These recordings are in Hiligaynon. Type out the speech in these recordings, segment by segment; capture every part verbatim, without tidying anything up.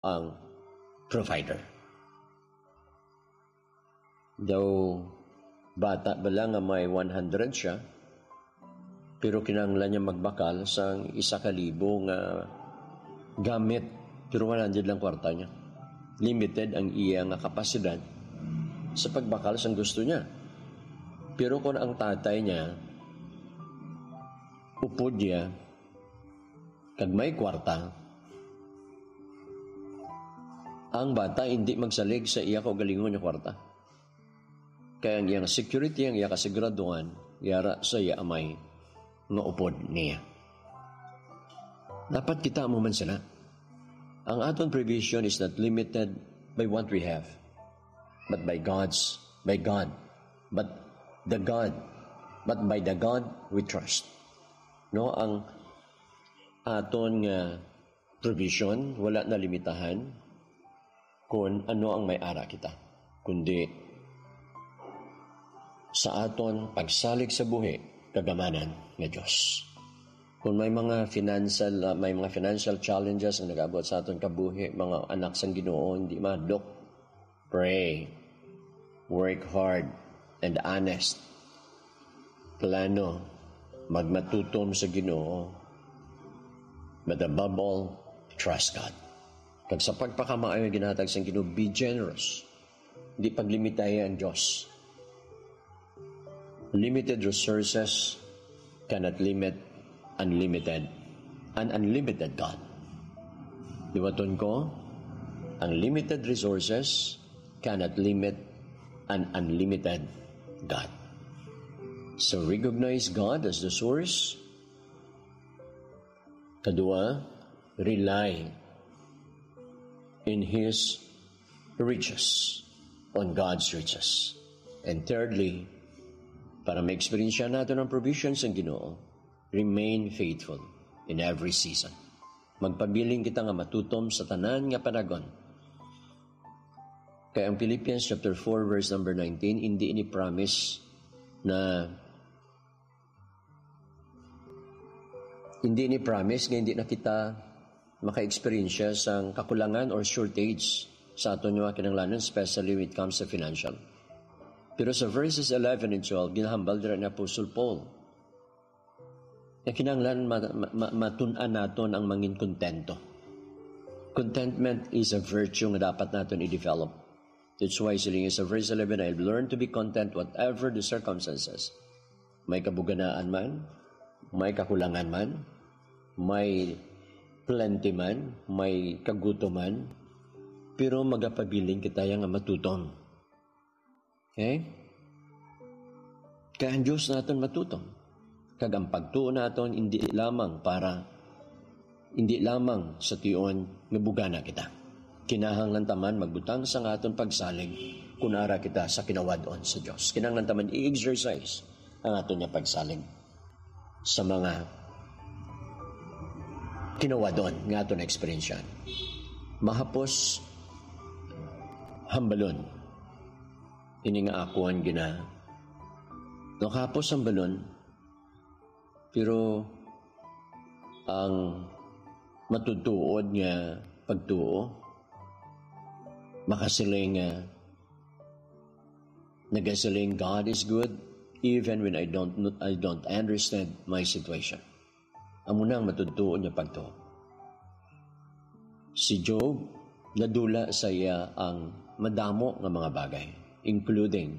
ang provider. Daw bata bala nga may one hundred siya, pero kinahanglan niya magbakal sang isa ka libo nga gamit, pero one hundred lang kwarta niya. Limited ang iya nga kapasidad sa pagbakal sang gusto niya. Pero kung ang tatay niya, upod niya, kag may kwarta, ang bata hindi magsalig sa iya kaugalingon nga kwarta. Kay ang iyang security, ang iya kasiguraduhan, yara sa iya amay nga upod niya. Dapat kita amo man sila. Ang aton provision is not limited by what we have, but by God's, by God, but the God, but by the God we trust. No, ang aton nga provision wala na limitahan kon ano ang may ara kita, kundi sa aton pagsalig sa buhi kag amanan nga Dios. Kung may mga financial, ah, may mga financial challenges ang nag-abot sa aton kabuhi, mga anak sang Ginoo, hindi mahadlok. Pray. Work hard and honest. Plano. Magmatutom sa Ginoo. But above all, trust God. Kag sa pagpakamaayo nga ginhatag sang Ginoo, be generous. Di paglimitahi ang Dios. Limited resources cannot limit unlimited, an unlimited God. Liwaton ko, ang limited resources cannot limit an unlimited God. So recognize God as the source. Kadua, rely in His riches, on God's riches. And thirdly, para ma-experience naton ang provision sang Ginoo, remain faithful in every season. Magpabilin kita nga matutom sa tanan nga panahon. Kay ang Philippians chapter four, verse number nineteen, hindi ini promise na, hindi ini promise nga hindi na kita maka-experience sang kakulangan or shortage sa aton nga kinahanglanon, especially when it comes to financial. Pero sa verses eleven and twelve, ginahambal dira ni Apostle Paul nga kinahanglan ma-, ma-, ma-, matun-an naton ang mangin kontento. Contentment is a virtue nga dapat naton i-develop. That's why siling sa verse eleven, "I learned to be content whatever the circumstances." May kabuganaan man, may kakulangan man, may plenty man, may kagutom man, pero magapabilin kita nga matutom. Okay? Kay ang Dios naton matutom. Kag ang pagtuo naton hindi lamang para, hindi lamang sa tion nga bugana kita. Kinahanglan ta man magbutang sang aton pagsalig kun ara kita sa kinawad-on sa Dios. Kinahanglan ta man i-exercise ang aton nga pagsalig sa mga kinawad-on nga aton na-eksperyensyahan. Mahapos hambalon ini nga akon gina-, nakahapos hambalon, pero ang matutuod nga pagtuo makasiling nga nagasiling, "God is good even when I don't, I don't understand my situation." Amo na ang matutuo niya pagtuo. Si Job, nadula sa iya ang madamo nga mga bagay, including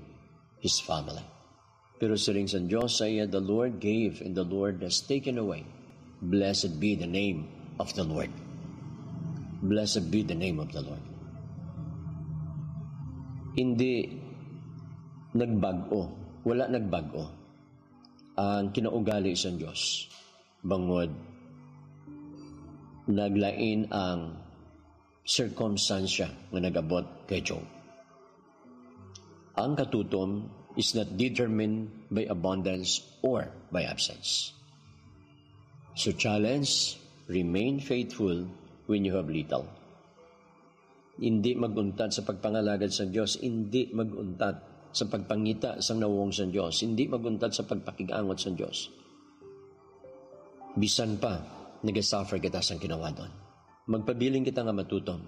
his family. Pero siling sang Dios sa iya, "The Lord gave and the Lord has taken away. Blessed be the name of the Lord." Blessed be the name of the Lord. Hindi nagbag-o, wala nagbag-o ang kinaugali sang Dios, bangod naglain ang sirkumstansya nga nag-abot kay Job. Ang katutom is not determined by abundance or by absence. So challenge, remain faithful when you have little. Hindi mag-untat sa pagpangalagad sa Dios, hindi mag-untat sa pagpangita sang nawong sa Dios, hindi mag-untat sa pagpakig-angot sa Dios. Bisan pa nagasuffer kita sang kinawad-on, magpabilin kita nga matutom.